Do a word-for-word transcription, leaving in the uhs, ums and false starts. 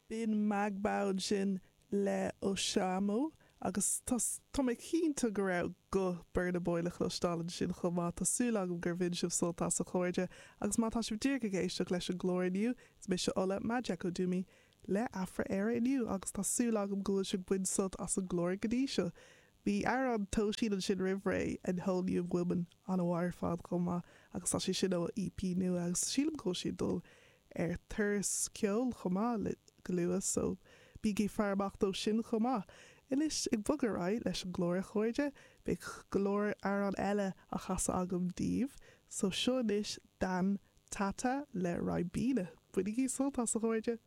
B'in Magbau ansin le Oshamo agus tá mé cinnte go raibh guth Burna Boy le cloisteáil ansin chomh maith tá súil agam gur bhain sibh sult as a chairde agus má tá sibh díreach ag éisteacht leis an gclár inniu is mise Ola Majekodunmi le Afra Éire inniu agus tá súil agam go bhfuil sibh ag baint sult as an gclár go dtí seo. Bhí amhrán Tosin ansin roimh ré an Whole New Woman an-mhaith ar fad chomh maith agus tá sé sin ó EP nua agus sílim go bhfuil sé dul ar turas ceoil chomh maith le go luath so bígí ag faire amach dó sin chomh maith. Anois ag bogadh ar aghaidh leis an gclár a chairde, beidh go leor amhrán eile á chasadh agam daoibh, so seo anois Dan Tata le Ribena. Bainigí sult as a chairde.